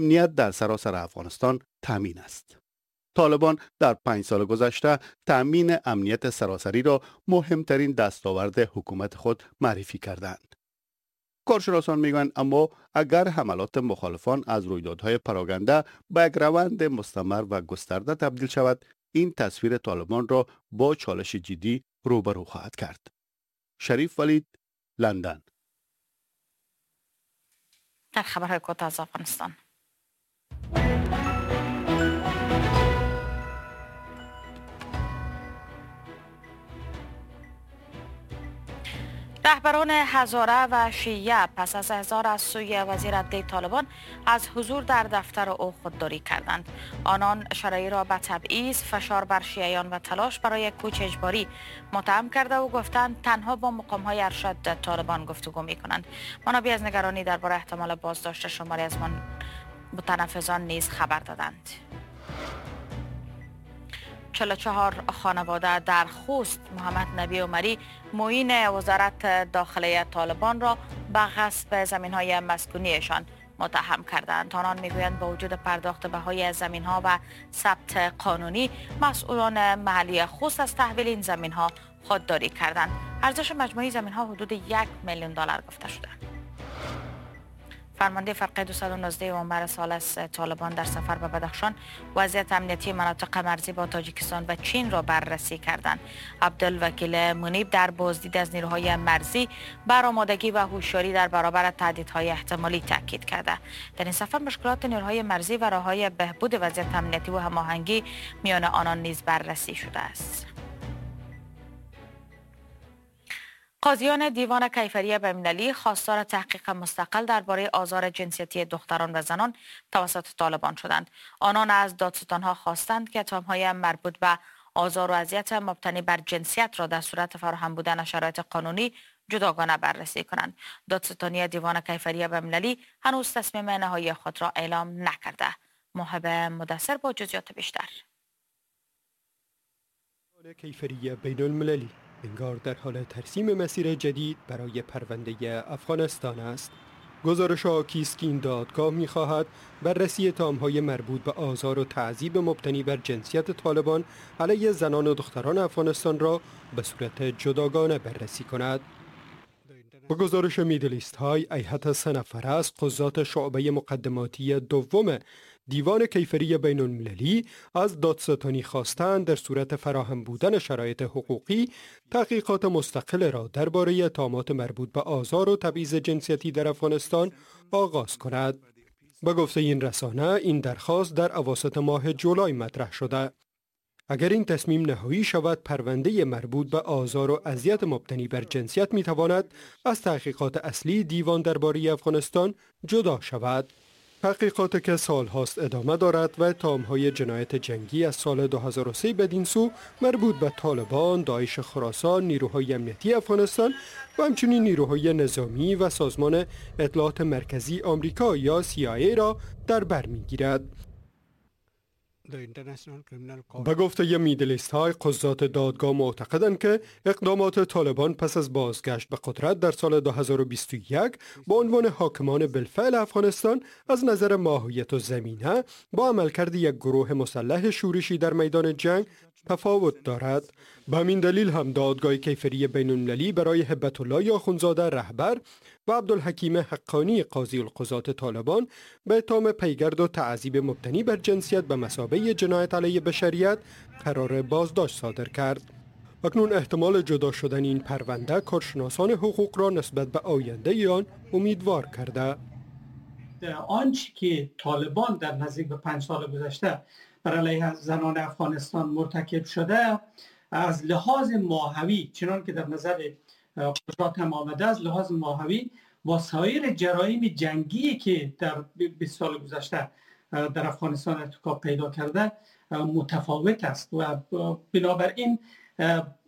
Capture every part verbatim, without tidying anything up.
امنیت در سراسر افغانستان تامین است. طالبان در پنج سال گذشته تامین امنیت سراسری را مهمترین دستاورد حکومت خود معرفی کردند. کارشناسان میگویند اما اگر حملات مخالفان از رویدادهای پراگنده به یک روند مستمر و گسترده تبدیل شود، این تصویر طالبان را با چالش جدی روبرو خواهد کرد. شریف ولید، لندن. در خبرهای کوتاه از افغانستان، رهبران هزاره و شیعه پس از احضار از سوی وزیر عدلیه طالبان از حضور در دفتر او خودداری کردند. آنان شرعی را به تبعیض، فشار بر شیعیان و تلاش برای کوچ اجباری متهم کرده و گفتند تنها با مقام‌های ارشد طالبان گفتگو می‌کنند. منابع از نگرانی درباره احتمال بازداشت شماری از متنفذان نیز خبر دادند. چهل و چهار خانواده در خوست محمد نبی عمری معین وزارت داخله طالبان را به غصب زمین‌های مسکونیشان متهم کردند. آنان میگویند با وجود پرداخت بهای زمین‌ها و ثبت قانونی، مسئولان محلی خوست از تحویل این زمین‌ها خودداری کردند. ارزش مجموعی زمین‌ها حدود یک میلیون دلار گفته شده. فرمانده فرقه دویست و نوزده عمر ثالث طالبان در سفر به بدخشان وضعیت امنیتی مناطق مرزی با تاجیکستان و چین را بررسی کردند. عبدالوکیل منیب در بازدید از نیروهای مرزی بر آمادگی و هوشیاری در برابر تهدیدهای احتمالی تاکید کرده. در این سفر مشکلات نیروهای مرزی و راه‌های بهبود وضعیت امنیتی و هماهنگی میان آنان نیز بررسی شده است. قاضیان دیوان کیفری بین‌المللی خواستار تحقیق مستقل درباره آزار جنسیتی دختران و زنان توسط طالبان شدند. آنان از دادستانها خواستند که اتهام‌های مربوط به آزار و اذیت مبتنی بر جنسیت را در صورت فراهم بودن شرایط قانونی جداگانه بررسی کنند. دادستانی دیوان کیفری بین‌المللی هنوز تصمیم نهایی خود را اعلام نکرده. محب مدثر با جزئیات بیشتر. کیفری بین‌المللی انگار در حال ترسیم مسیر جدید برای پرونده افغانستان است. گزارش حاکی است که این دادگاه می‌خواهد بررسی اتهام‌های مربوط به آزار و تعذیب مبتنی بر جنسیت طالبان علیه زنان و دختران افغانستان را به صورت جداگانه بررسی کند. با گزارش میدل ایست آی، هیئت سه نفره از قضات شعبه مقدماتی دوم دیوان کیفری بین المللی از دادستانی خواستند در صورت فراهم بودن شرایط حقوقی تحقیقات مستقل را درباره اتهامات مربوط به آزار و تبعیض جنسیتی در افغانستان آغاز کند. به گفته این رسانه، این درخواست در اواسط ماه جولای مطرح شده. اگر این تصمیم نهایی شود، پرونده مربوط به آزار و اذیت مبتنی بر جنسیت میتواند از تحقیقات اصلی دیوان درباره افغانستان جدا شود. تحقیقات که سالهاست ادامه دارد و اتهام‌های جنایت جنگی از سال دو هزار و سه بدین سو مربوط به طالبان، داعش خراسان، نیروهای امنیتی افغانستان و همچنین نیروهای نظامی و سازمان اطلاعات مرکزی آمریکا یا سی آی ای را در بر می‌گیرد. به گفته میدل ایست آی، قضات دادگاه معتقدند که اقدامات طالبان پس از بازگشت به قدرت در سال دو هزار و بیست و یک با عنوان حاکمان بالفعل افغانستان از نظر ماهیت و زمینه با عملکرد یک گروه مسلح شورشی در میدان جنگ تفاوت دارد. به همین دلیل هم دادگاه کیفری بین المللی برای هبت الله آخوندزاده رهبر و عبدالحکیم حقانی قاضی القضات طالبان به اتهام پیگرد و تعذیب مبتنی بر جنسیت به مثابه جنایت علیه بشریت قرار بازداشت صادر کرد. اکنون احتمال جدا شدن این پرونده کارشناسان حقوق را نسبت به آینده آن امیدوار کرده. آنچه که طالبان در نزدیک به پنج سال گذشته بر علیه زنان افغانستان مرتکب شده، از لحاظ ماهوی چنان که در نظر قضات هم آمده، از لحاظ ماهوی با سایر جرایم جنگی که در بیست سال گذشته در افغانستان ارتکاب پیدا کرده متفاوت است و بنابراین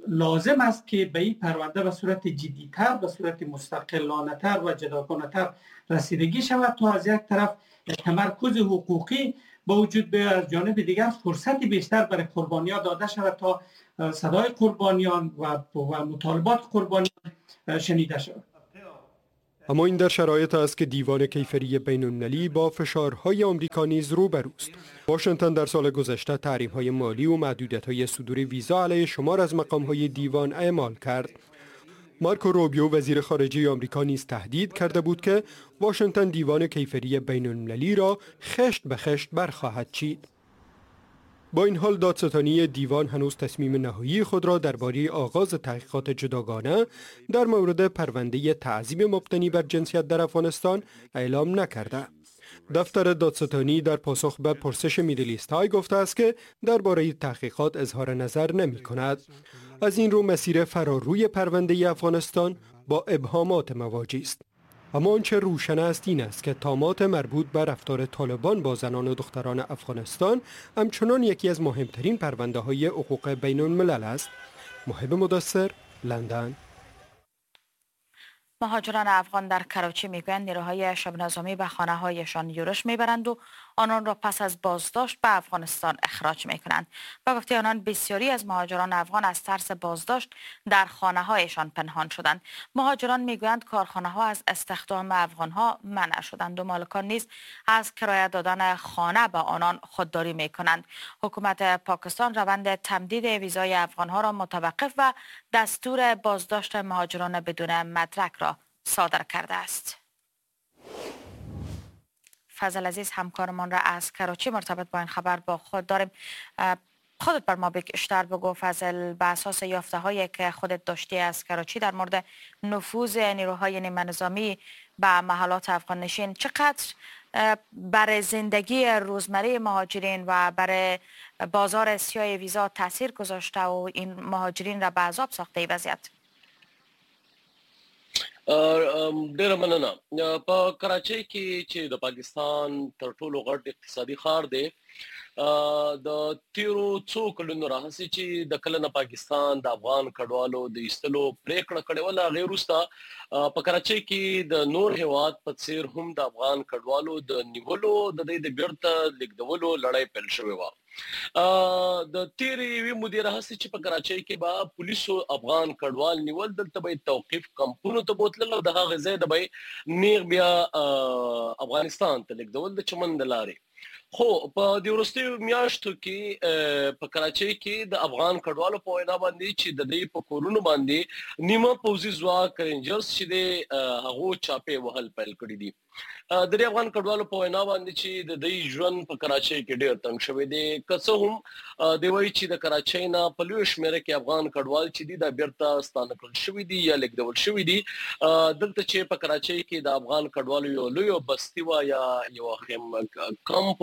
لازم است که به این پرونده به صورت جدی‌تر، به صورت مستقلانه‌تر و جداگانه‌تر رسیدگی شود تا از یک طرف تمرکز حقوقی با وجود به از جانب دیگر فرصت بیشتر برای قربانیان داده شود تا صدای قربانیان و، و مطالبات قربانیان شنیده شود. اما این در شرایط است که دیوان کیفری بین‌المللی با فشارهای آمریکا نیز روبروست. واشنگتن در سال گذشته تحریم‌های مالی و محدودیت‌های صدور ویزا علیه شمار از مقام‌های دیوان اعمال کرد. مارکو روبیو، وزیر خارجه آمریکا، نیز تهدید کرده بود که واشنگتن دیوان کیفری بین‌المللی را خشت به خشت برخواهد چید. با این حال، دادستانی دیوان هنوز تصمیم نهایی خود را درباره آغاز تحقیقات جداگانه در مورد پرونده تعذیب مبتنی بر جنسیت در افغانستان اعلام نکرده. دفتر دادستانی در پاسخ به پرسش میدل ایست آی گفته است که درباره تحقیقات اظهار نظر نمی کند. از این رو مسیر فراروی پرونده افغانستان با ابهامات مواجه است. اما آنچه روشن است این است که اتهامات مربوط به رفتار طالبان با زنان و دختران افغانستان همچنان یکی از مهمترین پرونده های حقوق بین الملل است. محب مدثر، لندن. مهاجران افغان در کراچی میگویند نیروهای شبه نظامی به خانه هایشان یورش میبرند و آنان را پس از بازداشت به افغانستان اخراج میکنند. با گفته آنان، بسیاری از مهاجران افغان از ترس بازداشت در خانه هایشان پنهان شدند. مهاجران میگویند کارخانه ها از استخدام افغان ها منع شدند و مالکان نیز از کرایه دادن خانه به آنان خودداری میکنند. حکومت پاکستان روند تمدید ویزای افغان ها را متوقف و دستور بازداشت مهاجران بدون مدرک را صادر کرده است. فضل عزیز، همکارمان را از کراچی مرتبط با این خبر با خود داریم. خودت بر ما بیشتر بگو فضل، به اساس یافته هایی که خودت داشتی از کراچی در مورد نفوذ نیروهای نیمه نظامی به محلات افغان نشین، چقدر برای زندگی روزمره مهاجرین و برای بازار سیاه ویزا تاثیر گذاشته و این مهاجرین را به عذاب ساخته ای وضعیت؟ ډیره مننه. په کراچۍ کې چې د پاکستان تر ټولو غټ اقتصادي ښار دی، د تیرو څو کلونو راهیسې چې د کله نه پاکستان د افغان کډوالو د ایستلو پریکړه کړې وه، له هغې وروسته په کراچۍ کې د نور هیواد په څیر هم د افغان کډوالو د نیولو، د دوی د بیرته لیږدولو لړۍ پیل شوې وه. د تیرې یوې مودې راهیسې چې په کراچۍ کې به پولیسو افغان کډوال نیول، دلته به یې توقیف کمپونو ته بوتلل او د هغې ځای نه به یې نیغ بیا افغانستان ته لیږدول د چمن د لارې. خو په دې وروستیو میاشتو کې په کراچۍ کې د افغان کډوالو په وینا باندې چې د دوی په کورونو باندې نیمه پوځي ځواک رینجرز چې دی، هغو چاپې وهل پیل کړي دي. د دې افغان کډوالو په وینا باندې چې د دوی ژوند په کراچۍ کې ډېر تنګ شوی دی. که څه هم دی وایي چې د کراچۍ نه په لویه شمېره کې افغان کډوال چې دي، دا بیرته ستانه کړل شوي دي یا لیږدول شوي دي. دلته چې په کراچۍ کې د افغان کډوالو یو لویه بستي وه یا یو خیم کمپ،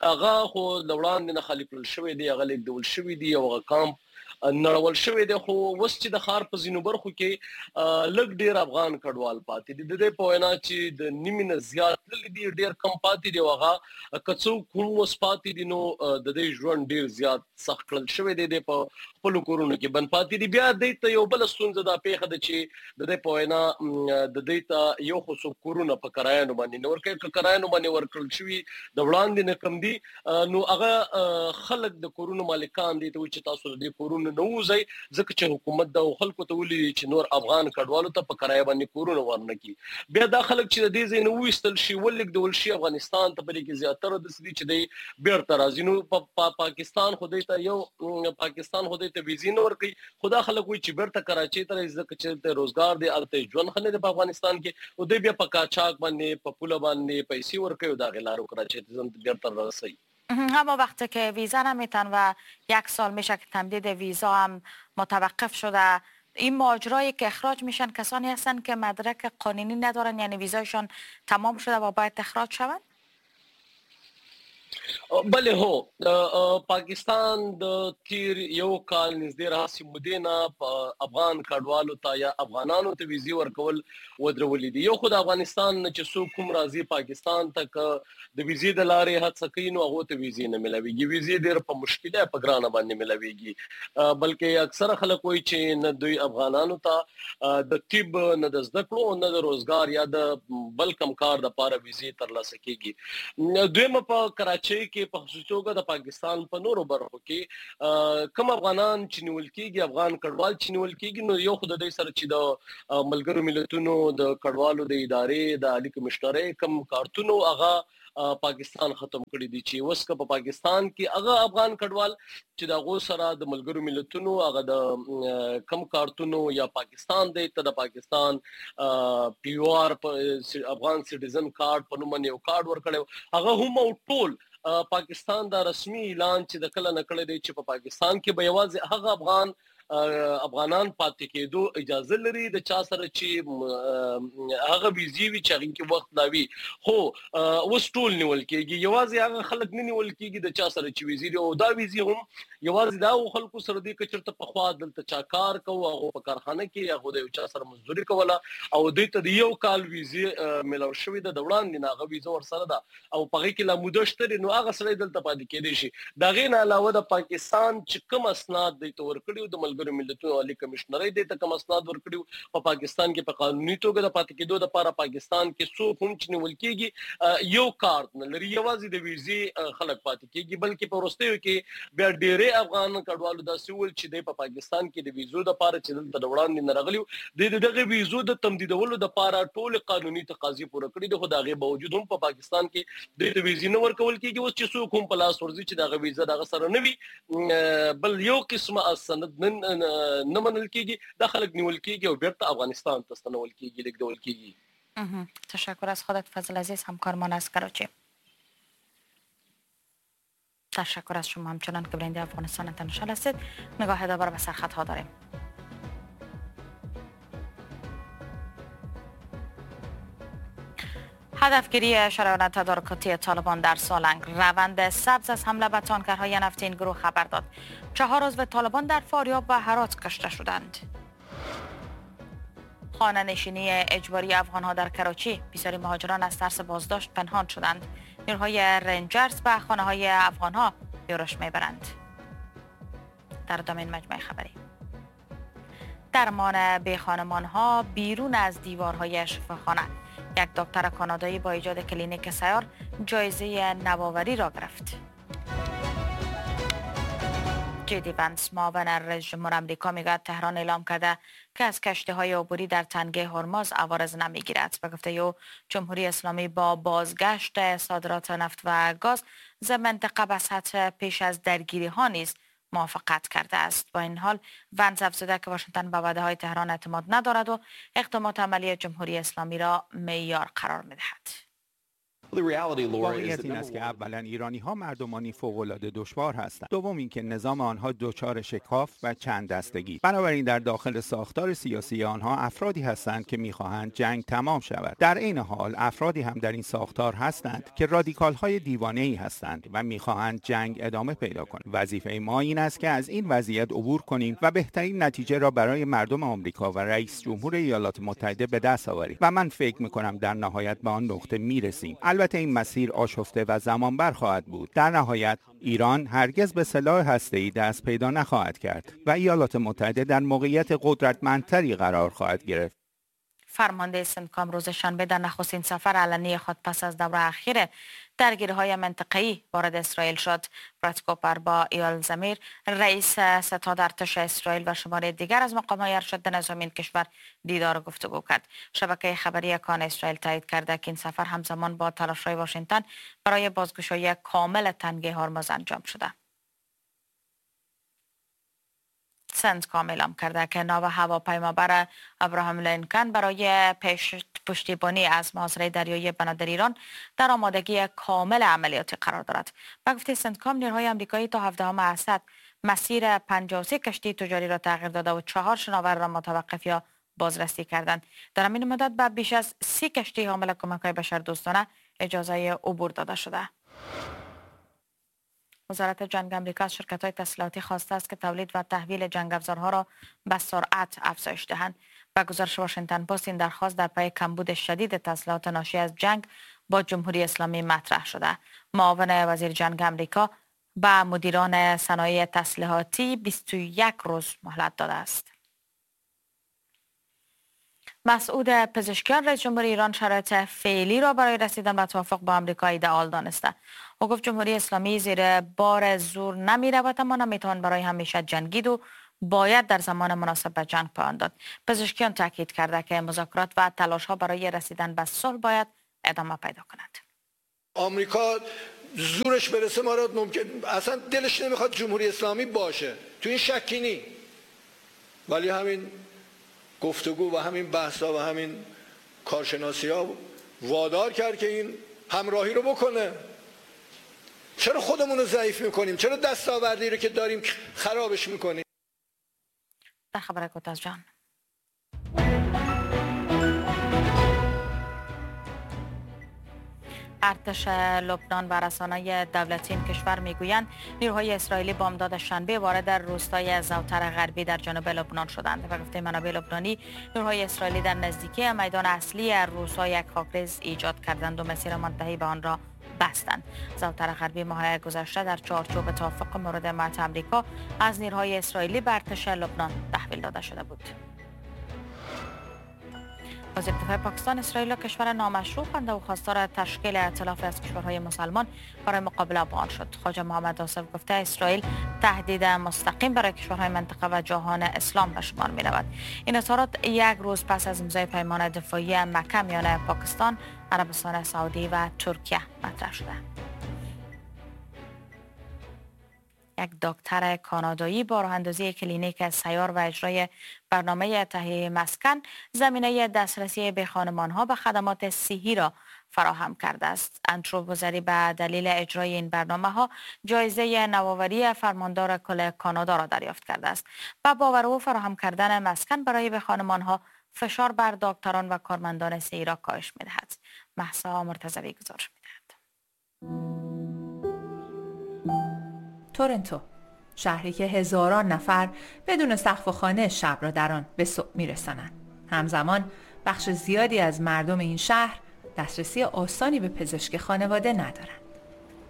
هغه خو له وړاندې نه خالي کړل شوی دی، هغه لیږدول شوي دي او هغه کمپ نړول شوی دی. خو اوس چې د ښار په ځینو برخو کې لږ ډېر افغان کډوال پاتې دي، د دې په وینا چې د نیمې نه زیات تللي دي، ډېر کم پاتې دي او هغه که څوک هم اوس پاتې دي، نو د دې ژوند ډېر زیات سخت کړل شوی دی، دی په خپلو کورونو کې بند پاتې دي. بیا دوی ته یو بله ستونزه دا پېښه ده چې د دې په وینا د دوی ته یو خو څوک کورونه په کرایانو باندې نه ورکوي، که کرایانو باندې ورکړل شوي د وړاندې نه کم دي، نو هغه خلک د کورونو مالکان دي ته وایي چې تاسو د دې کورونو نه ووځئ، ځکه چې حکومت دا خلکو ته ویلي چې نور افغان کډوالو ته په کرایه باندې کورونه ورنه کړي. بیا دا خلک چې د دې ځای نه وویستل شي، ولېږدول شي افغانستان ته، په دې کې زیاتره داسې دي چې دی بیرته راځي. نو په پاکستان خو دوی ته یو پاکستان خو دوی ته ویزې نه ورکوي، خو دا خلک وایي چې بیرته کراچۍ ته راځي، ځکه چې دلته روزګار دی، هلته یې ژوند ښه نه دی په افغانستان کې، نو دوی بیا په قاچاق باندې په پوله باندې پیسې ورکوي او د هغې لارو کراچۍ ته ځان بیرته رسوي. اما وقتی که ویزا نمیتن و یک سال میشه که تمدید ویزا هم متوقف شده، این مهاجرایی که اخراج میشن کسانی هستند که مدرک قانونی ندارن، یعنی ویزایشان تمام شده و باید اخراج شوند؟ بله هو، پاکستان د تیر یو کال نږدې راهیسې مودې نه په افغان کډوالو ته یا افغانانو ته ویزې ورکول ودرولې دي. یو خو د افغانستان نه چې څوک هم راځي پاکستان ته، که د ویزې د لارې هڅه کوي نو هغو ته ویزې نه ملاویږي، ویزې ډېر په مشکله په ګرانه باندې ملاویږي. بلکې اکثره خلک وایي چې نه دوی افغانانو ته د طب، نه د زده کړو، نه د روزګار یا د بل کوم کار دپاره ویزې ترلاسه کیږي. دویمه په کراچۍ کې په خصوصي توګه د پاکستان په نورو برخو کې کوم افغانان چې نیول کیږي، افغان کډوال چې نیول کیږي، نو یو خو د دې سره چې د ملګرو ملتونو د کډوالو د ادارې د عالي کمشنرۍ کوم کارتونو هغه پاکستان ختم کړی دي چې اوس که په پاکستان کې هغه افغان کډوال چې د هغو سره د ملګرو ملتونو هغه د کم کارتونو یا پاکستان دی ته د پاکستان پی یو آر افغان سټیزن کارت په نوم یو کارت ورکړی، هغه هم او ټول پاکستان دا رسمي اعلان چې د کله نکړی دی چې په پاکستان کې به یوازې هغه افغان افغانان پاتې کېدو اجازه لري د چا سره چې هغه ویزې وي چې هغې کې وخت لا وي. خو اوس ټول نیول کېږي، یوازې هغه خلک نه نیول کېږي د چا سره چې ویزې دي، او دا ویزې هم یوازې دا هغو خلکو سره دي که چېرته پخوا دلته چا کار کوو، هغو په کارخانه کې هغو د یو چا سره مزدوري کوله او دوی ته د یو کال ویزې میلاو شوې ده، د وړاندې نه هغه ویزه ورسره ده او په هغې کې لا موده شته دی، نو هغه سړی دلته پاتې کېدی شي. د هغې نه علاوه د پاکستان چې کوم اسناد دوی ته ورکړي د ملګرو ملتونو عالي کمشنرۍ دې ته کوم اسناد ورکړي په پاکستان کې په قانوني توګه د پاتې کېدو دپاره پاکستان کې څوک هم چې نیول کېږي یو کارت نه لري، یوازې د ویزې خلک پاتې کېږي. بلکې په وروستیو کې بیا ډېری افغان کډوالو داسې وویل چې دی په پاکستان کې د ویزو دپاره چې دلته د وړاندې نه راغلي وو، دی د دغې ویزو د تمدیدولو دپاره ټولې قانوني تقاضې پوره کړي دي، خو د هغې باوجود هم په پاکستان کې دوی ته ویزې نه ورکول کېږي. اوس چې څوک هم په لاس ورځي چې دغه ویزه دغه سره نه وي، بل یو قسمه سند نه منل کېږي، دا خلک نیول کېږي او بیرته افغانستان ته ستنول کېږي، لېږدول کېږي. تشکر از خودت فضل عزیز، همکارمان از کراچی. تشکر از شما همچنان که بیننده افغانستان اینترنشنال هستید. نگاه دوباره به سرخطها داریم. هدفگیری شرایط تدارکاتی طالبان در سالنگ، روند سبز از حمله به تانکرهای نفتی این گروه خبر داد. چهار عضو طالبان در فاریاب و هرات کشته شدند. خانه نشینی اجباری افغانها در کراچی، بسیاری مهاجران از ترس بازداشت پنهان شدند. نیروهای رنجرز به خانه های افغانها یورش میبرند. در ادامه این مجموعه خبری، درمان بی خانمان ها بیرون از دیوارهای شفاخانه، یک دکتر کانادایی با ایجاد کلینیک سیار جایزه نوآوری را گرفت. جیدی ونس معاون رئیس جمهور آمریکا میگوید تهران اعلام کرده که از کشتی‌های عبوری در تنگه هرمز عوارض نمیگیرد. به گفته او جمهوری اسلامی با بازگشت صادرات نفت و گاز ز منطقه به سطح پیش از درگیری ها نیز موافقت کرده است. با این حال ونس افزوده که واشنگتن به وعده‌های تهران اعتماد ندارد و اقدامات عملی جمهوری اسلامی را معیار قرار می‌دهد. واقعیت این است که اولا ایرانی ها مردمانی فوق‌العاده دشوار هستند، دوم اینکه نظام آنها دچار شکاف و چند دستگی، بنابراین در داخل ساختار سیاسی آنها افرادی هستند که میخواهند جنگ تمام شود. در عین حال افرادی هم در این ساختار هستند که رادیکال های دیوانه‌ای هستند و میخواهند جنگ ادامه پیدا کند. وظیفه ما این است که از این وضعیت عبور کنیم و بهترین نتیجه را برای مردم آمریکا و رئیس جمهور ایالات متحده به دست آوریم و من فکر میکنم در نهایت به آن نقطه میرسیم. البته این مسیر آشفته و زمانبر خواهد بود. در نهایت ایران هرگز به سلاح هسته‌ای دست پیدا نخواهد کرد و ایالات متحده در موقعیت قدرتمندتری قرار خواهد گرفت. فرمانده سنتکام روز شنبه در نخستین سفر علنی خود پس از دوره اخیر درگیری‌های منطقه‌ای وارد اسرائیل شد. براد کوپر با ایال زمیر رئیس ستاد ارتش اسرائیل و شمار دیگر از مقام‌های ارشد نظامی این کشور دیدار و گفتگو کرد. شبکه خبری کان اسرائیل تایید کرده که این سفر همزمان با تلاش‌های واشنگتن برای بازگشایی کامل تنگه هرمز انجام شده. سنتکام اعلام کرده که ناو هواپیمابر ابراهام لینکن برای پشتیبانی از محاصره دریایی بنادر ایران در آمادگی کامل عملیاتی قرار دارد. به گفته سنتکام نیروهای آمریکایی تا هفدهم اسد مسیر پنجاه و سه کشتی تجاری را تغییر داده و چهار شناور را متوقف یا بازرسی کردند. در همین مدت به بیش از سی کشتی حامل کمک‌های بشردوستانه اجازه عبور داده شده. وزارت جنگ آمریکا از شرکت‌های تسلیحاتی خواسته است که تولید و تحویل جنگ افزارها را به سرعت افزایش دهند. به گزارش واشنگتن پست این درخواست در پی کمبود شدید تسلیحات ناشی از جنگ با جمهوری اسلامی مطرح شده. معاون وزیر جنگ آمریکا به مدیران صنایع تسلیحاتی بیست و یک روز مهلت داده است. مسعود پزشکیان رئیس جمهور ایران شرایط فعلی را برای رسیدن به توافق با آمریکا ایدئال دانسته. او گفت جمهوری اسلامی زیر بار زور نمی رود، اما نمیتوان برای همیشه جنگید و باید در زمان مناسب به جنگ پایان داد. پزشکیان تاکید کرده که مذاکرات و تلاش ها برای رسیدن به صلح باید ادامه پیدا کند. آمریکا زورش برسه ما را ممکن اصلا دلش نمیخواد جمهوری اسلامی باشه، تو این شکی نی، ولی همین گفتگو و همین بحثا و همین کارشناسی ها وادار کرد که این همراهی رو بکنه. چرا خودمون رو ضعیف میکنیم؟ چرا دستاوردی رو که داریم خرابش میکنیم؟ در خبر کوتاه جان، ارتش لبنان و رسانه‌های دولتی این کشور میگویند نیروهای اسرائیلی بامداد شنبه وارد روستای زوتر غربی در جنوب لبنان شدند. به گفته منابع لبنانی نیروهای اسرائیلی در نزدیکی میدان اصلی روستا یک خاکریز ایجاد کردند و مسیر منتهی به آن را بستند. زوتر غربی ماه گذشته در چارچوب توافق مورد حمایت آمریکا از نیروهای اسرائیلی به ارتش لبنان تحویل داده شده بود. وزیر دفاع پاکستان اسرائیل را کشور نامشروع خوانده و خواستار تشکیل ائتلاف از کشورهای مسلمان برای مقابله با آن شد. خواجه محمد آصف گفته اسرائیل تهدید مستقیم برای کشورهای منطقه و جهان اسلام به شمار می رود. این اظهارات یک روز پس از امضای پیمان دفاعی مکه میان پاکستان، عربستان سعودی و ترکیه مطرح شده. یک دکتر کانادایی با راه اندازی کلینیک سیار و اجرای برنامه تهیه مسکن زمینه دسترسی به خانمانها به خدمات صحی را فراهم کرده است. اندرو بوزری به دلیل اجرای این برنامه ها جایزه نوآوری فرماندار کل کانادا را دریافت کرده است. و باور او فراهم کردن مسکن برای به خانمانها فشار بر دکتران و کارمندان صحی را کاهش می‌دهد. مهسا مرتضوی گزارش می‌دهد. تورنتو، شهری که هزاران نفر بدون سقف و خانه شب را در آن به صبح می‌رسانند. همزمان بخش زیادی از مردم این شهر دسترسی آسانی به پزشک خانواده ندارند.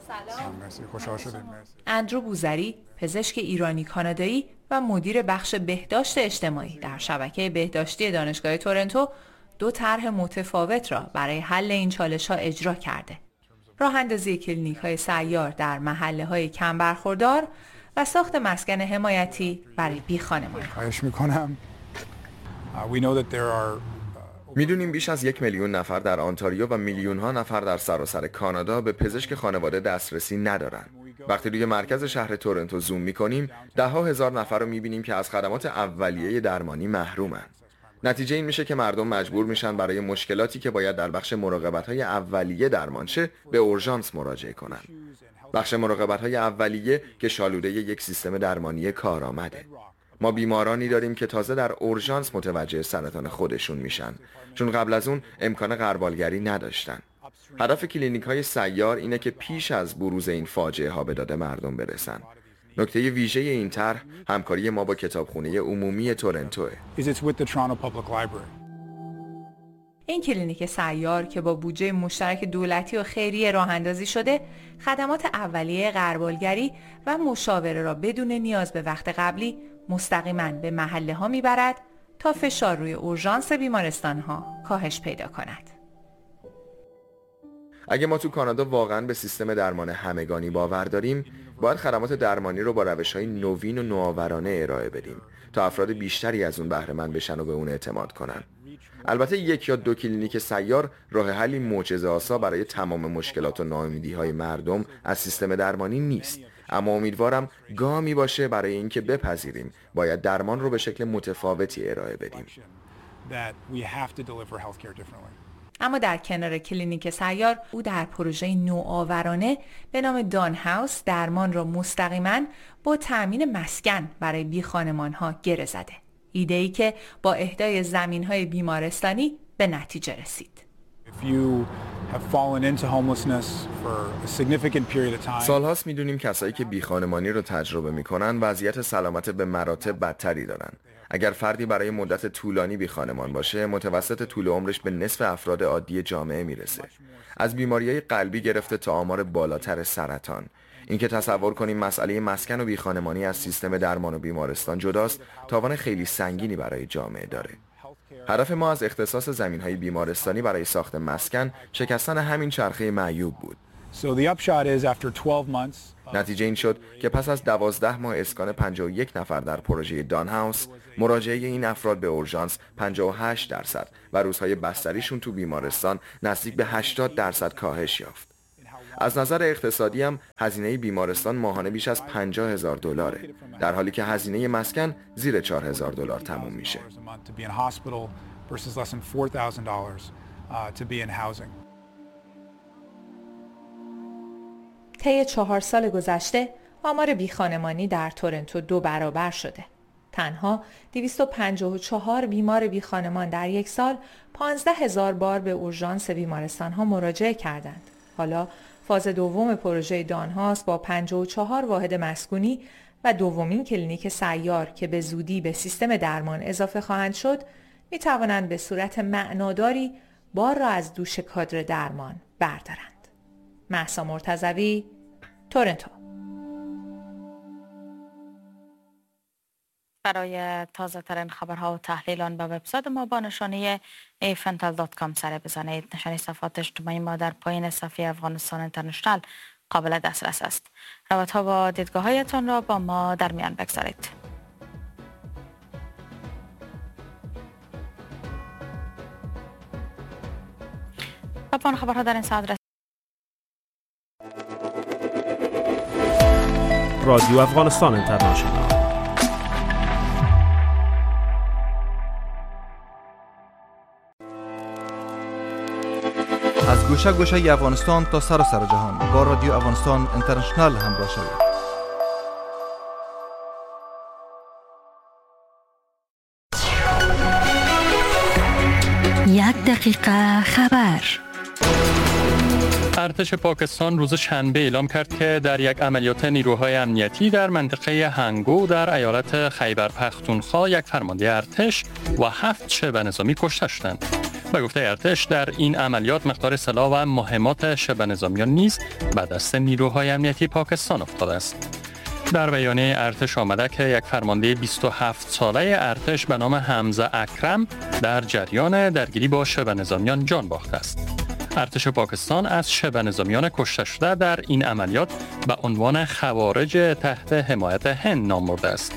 سلام. خوشحال شدیم. اندرو بوزری، پزشک ایرانی کانادایی و مدیر بخش بهداشت اجتماعی در شبکه بهداشتی دانشگاه تورنتو، دو طرح متفاوت را برای حل این چالش‌ها اجرا کرده. راه اندازی کلینیک‌های سیار در محله‌های کم برخوردار و ساخت مسکن حمایتی برای بی خانمان‌ها. خواهش می‌کنم. می‌دونیم بیش از یک میلیون نفر در آنتاریو و میلیون‌ها نفر در سراسر کانادا به پزشک خانواده دسترسی ندارن. وقتی روی مرکز شهر تورنتو زوم می‌کنیم، ده‌ها هزار نفر رو می‌بینیم که از خدمات اولیه درمانی محرومن. نتیجه این میشه که مردم مجبور میشن برای مشکلاتی که باید در بخش مراقبت‌های اولیه درمان شه به اورژانس مراجعه کنن. بخش مراقبت‌های اولیه که شالوده یک سیستم درمانی کارآمده. ما بیمارانی داریم که تازه در اورژانس متوجه سرطان خودشون میشن، چون قبل از اون امکان غربالگری نداشتن. هدف کلینیک‌های سیار اینه که پیش از بروز این فاجعه ها به داد مردم برسن. نکته ویژه این طرح همکاری ما با کتابخونه عمومی تورنتوه. این کلینیک سیار که با بودجه مشترک دولتی و خیریه راه اندازی شده، خدمات اولیه غربالگری و مشاوره را بدون نیاز به وقت قبلی مستقیما به محله ها میبرد تا فشار روی اورژانس بیمارستان ها کاهش پیدا کند. اگه ما تو کانادا واقعاً به سیستم درمان همگانی باور داریم، باید خدمات درمانی رو با روش‌های نوین و نوآورانه ارائه بدیم تا افراد بیشتری از اون بهره مند بشن و به اون اعتماد کنن. البته یک یا دو کلینیک سیار راه حلی معجزه‌آسا برای تمام مشکلات و ناامیدی‌های مردم از سیستم درمانی نیست، اما امیدوارم گامی باشه برای اینکه بپذیریم باید درمان رو به شکل متفاوتی ارائه بدیم. اما در کنار کلینیک سیار، او در پروژه نوآورانه به نام دان هاوس درمان را مستقیما با تأمین مسکن برای بی خانمان‌ها گره زده. ایده‌ای که با اهدای زمین‌های بیمارستانی به نتیجه رسید. سالهاست میدونیم کسایی که بی خانمانی رو تجربه میکنن وضعیت سلامت به مراتب بدتری دارن. اگر فردی برای مدت طولانی بی خانمان باشه، متوسط طول عمرش به نصف افراد عادی جامعه میرسه. از بیماری‌های قلبی گرفته تا آمار بالاتر سرطان. اینکه تصور کنیم مسئله مسکن و بی خانمانی از سیستم درمان و بیمارستان جداست، تاوان خیلی سنگینی برای جامعه داره. هدف ما از اختصاص زمین‌های بیمارستانی برای ساخت مسکن شکستن همین چرخه معیوب بود. نتیجه این شد که پس از دوازده ماه اسکان پنجاه و یک نفر در پروژه دان هاوس، مراجعه این افراد به اورژانس پنجاه و هشت درصد و روزهای بستریشون تو بیمارستان نزدیک به هشتاد درصد کاهش یافت. از نظر اقتصادی هم هزینه بیمارستان ماهانه بیش از پنجاه هزار دلاره، در حالی که هزینه مسکن زیر چهار هزار دلار تموم میشه. طی چهار سال گذشته آمار بیخانمانی در تورنتو دو برابر شده. تنها دویست و پنجاه و چهار بیمار بیخانمان در یک سال پانزده هزار بار به اورژانس بیمارستان ها مراجعه کردند. حالا فاز دوم پروژه دانهاست با پنجاه و چهار واحد مسکونی و دومین کلینیک سیار که به زودی به سیستم درمان اضافه خواهند شد، می توانند به صورت معناداری بار را از دوش کادر درمان بردارند. مهسا مرتضوی، تورنتو. برای تازه ترین خبرها و تحلیل آن به وبسایت ما با نشانی ایفنتل دات کام سر بزنید. نشانی صفحات اجتماعی ما در پایین صفحه افغانستان اینترنشنال قابل دسترس است. رابطه با دیدگاه‌هایتان را با ما در میان بگذارید. و پایان خبرها در این ساعت. رادیو افغانستان اینترنشنال. از گوشه گوشه افغانستان تا سراسر جهان با رادیو افغانستان اینترنشنال همراه شوید. یک دقیقه خبر. ارتش پاکستان روز شنبه اعلام کرد که در یک عملیات نیروهای امنیتی در منطقه هنگو در ایالت خیبر پختونخوا یک فرمانده ارتش و هفت شبه نظامی کشته شدند. به گفته ارتش در این عملیات مقدار سلاح و مهمات شبه نظامیان نیز به دست نیروهای امنیتی پاکستان افتاده است. در بیانیه ارتش آمده که یک فرمانده بیست و هفت ساله ارتش به نام حمزه اکرم در جریان درگیری با شبه نظامیان جان باخته است. ارتش پاکستان از شبه نظامیان کشته شده در این عملیات به عنوان خوارج تحت حمایت هند نام برده است.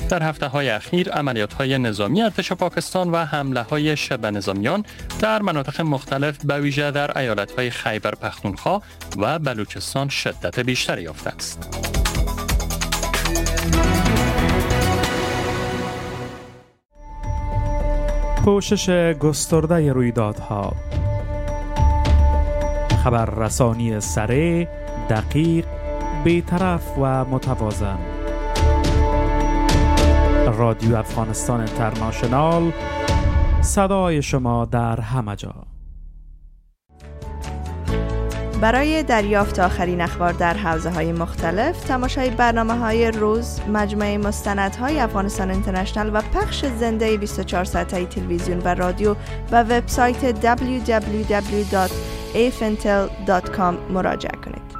در هفته‌های اخیر عملیات‌های نظامی ارتش پاکستان و حمله‌های شبه نظامیان در مناطق مختلف به ویژه در ایالت‌های خیبر پختونخوا و بلوچستان شدت بیشتری یافته است. پوشش گسترده رویدادها، خبررسانی سریع، دقیق، بی‌طرف و متوازن. رادیو افغانستان اینترنشنال، صدای شما در همه جا. برای دریافت آخرین اخبار در حوزه‌های مختلف، تماشای برنامه‌های روز، مجموعه مستندهای افغانستان اینترنشنال و پخش زنده بیست و چهار ساعته تلویزیون و رادیو و وبسایت دبلیو دبلیو دبلیو دات ایفنتل دات کام مراجعه کنید.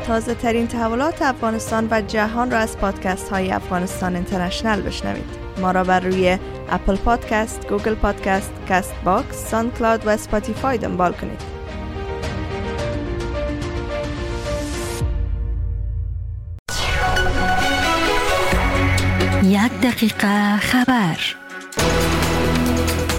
تازه ترین تحولات افغانستان و جهان را از پادکست های افغانستان اینترنشنال بشنوید. ما را بر روی اپل پادکست، گوگل پادکست، کست باکس، ساند کلاود و اسپاتیفای دنبال کنید. یک دقیقه خبر.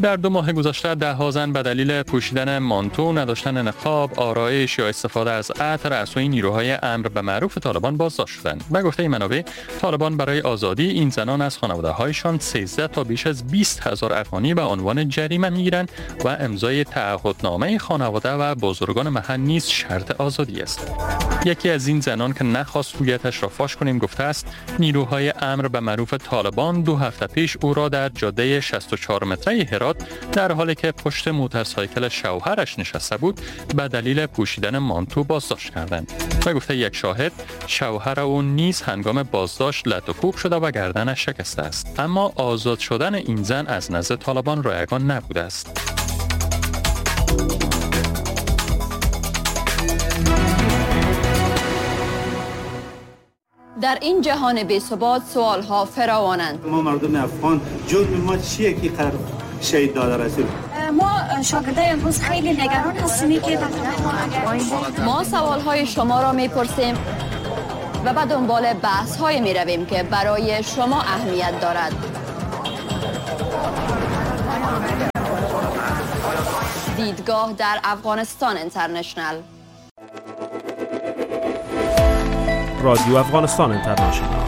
در دو ماه گذشته ده ها زن به دلیل پوشیدن مانتو، نداشتن نقاب، آرایش یا استفاده از عطر از سوی نیروهای امر به معروف طالبان بازداشت شدند. به گفته منابع، طالبان برای آزادی این زنان از خانواده‌هایشان سیزده تا بیش از بیست هزار افغانی به عنوان جریمه می‌گیرند و امضای تعهدنامه خانواده و بزرگان محل نیز شرط آزادی است. یکی از این زنان که نخواست هویتش را فاش کنیم گفته است نیروهای امر به معروف طالبان دو هفته پیش او را در جاده شصت و چهار متری هرات در حالی که پشت موتورسایکل شوهرش نشسته بود به دلیل پوشیدن مانتو بازداشت کردند. به گفته یک شاهد، شوهر او نیز هنگام بازداشت لت و کوب شده و گردنش شکسته است. اما آزاد شدن این زن از نزد طالبان رایگان نبوده است. در این جهان بی‌ثبات سوال‌ها فراوانند. ما مردم افغان جرم ما چیه که قرار شهید داده رسید؟ ما شاگردای امروز خیلی نگران هستیم که ما سوال‌های شما را می‌پرسیم و به دنبال بحث‌های می‌رویم که برای شما اهمیت دارد. دیدگاه در افغانستان اینترنشنال. رادیو افغانستان اینترنشنال.